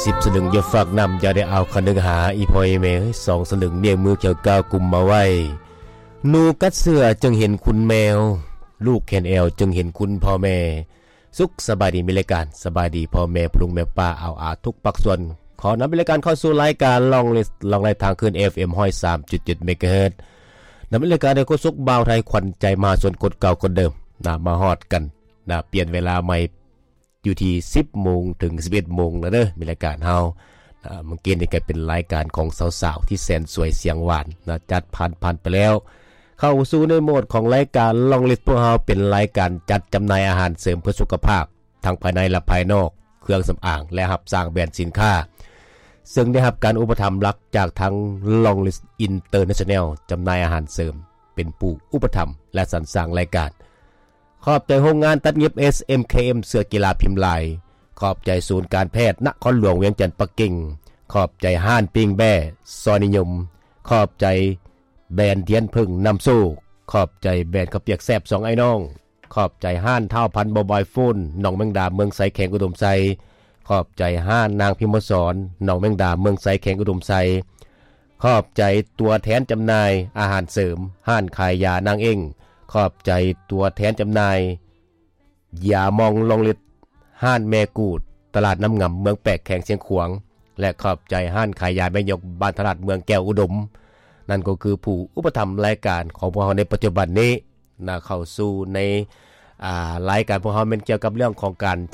ສິບສະລຶງຢ່າຝາກນຳ ຢ່າໄດ້ເອົາຄະນຶງຫາ ອີ່ພໍ່ອີ່ແມ່ເອີຍ ສອງສະລຶງ ນິ້ວມືຂຽວກ້າວກຸມມາໄວ້. ໜູກັດເສື້ອຈຶ່ງເຫັນຂຸນແມວ ລູກແຂນແອວຈຶ່ງເຫັນຄຸນພໍ່ແມ່. ສຸກສະບາຍດີ ມີລາຍການສະບາຍດີພໍ່ແມ່ ພໍ່ລຸງແມ່ປ້າ ອາວອາ ທຸກພາກສ່ວນ. ຂໍນຳລາຍການເຂົ້າສູ່ລາຍການ Long List ລອງໄລ່ທາງຄືນ ເອັຟເອັມ ຮ້ອຍສາມຈຸດເຈັດ ເມກາເຮີດ. ນຳລາຍການໂດຍໂຄສົກບ່າວໄທ ຂວັນໃຈມະຫາຊົນຄົນເກົ່າຄົນເດີມນະ ມາຮອດກັນນະ ປ່ຽນເວລາໃໝ່ ຢູ່ທີ່ສິບໂມງເຖິງສິບເອັດໂມງແລ້ວເດີ ມີລາຍການເຮົາ. ອາ ມື້ກີ້ນີ້ກໍເປັນລາຍການຂອງສາວໆ ທີ່ແສນສວຍສຽງຫວານນະ ຈັດຜ່ານ ຜ່ານໄປແລ້ວ. ເຂົ້າສູ່ໃນໂໝດຂອງລາຍການ Long List ພວກເຮົາເປັນລາຍການຈັດຈຳໜ່າຍອາຫານເສີມເພື່ອສຸຂະພາບ ທັງພາຍໃນ ແລະ ພາຍນອກ, ເຄື່ອງສຳອາງ ແລະ ຮັບສ້າງແບຣນສິນຄ້າ ເຊິ່ງໄດ້ຮັບການອຸປະຖຳຫຼັກຈາກທາງ Long List International ຈຳໜ່າຍອາຫານເສີມ ເປັນຜູ້ອຸປະຖຳ ແລະ ສັນສ້າງລາຍການ. ຂອບໃຈໂຮງງານຕັດຫຍິບ ເອສເອັມເຄເອັມ ເສື້ອກິລາພິມລາຍ. ຂອບໃຈສູນການແພດນະຄອນຫຼວງວຽງຈັນ ປັກກິ່ງ. ຂອບໃຈຮ້ານປີ້ງແບ້ຊອຍນິຍົມ. ຂອບໃຈແບຣນທຽນເຜິ້ງນຳໂຊກ. ຂອບໃຈແບຣນເຂົ້າປຽກແຊບສອງອ້າຍນ້ອງ. ຂອບໃຈຮ້ານທ້າວພັນ ໂມບາຍໂຟນ ໜອງແມງດາ ເມືອງໄຊ ແຂວງອຸດົມໄຊ. ຂອບໃຈຮ້ານນາງພິມມະສອນ ໜອງແມງດາ ເມືອງໄຊ ແຂວງອຸດົມໄຊ. ຂອບໃຈຕົວແທນຈຳໜ່າຍອາຫານເສີມ ຮ້ານຂາຍຢານາງເອັ້ງ. ຂອບໃຈຕົວແທນຈຳໜ່າຍຢາມອງ Long List ຮ້ານແມ່ກູດ ຕະຫຼາດນ້ຳງຳ ເມືອງແປກ ແຂວງຊຽງຂວາງ ແລະ ຂອບໃຈຮ້ານຂາຍຢາແມ່ຍົກ ບ້ານທະລາດ ເມືອງແກ້ວອຸດົມ. ນັ້ນກໍຄືຜູ້ອຸປະຖຳລາຍການຂອງພວກເຮົາໃນປັດຈຸບັນນີ້ນະ ເຂົ້າສູ່ໃນ ອາ ລາຍການພວກເຮົາແມ່ນກ່ຽວກັບເລື່ອງຂອງການ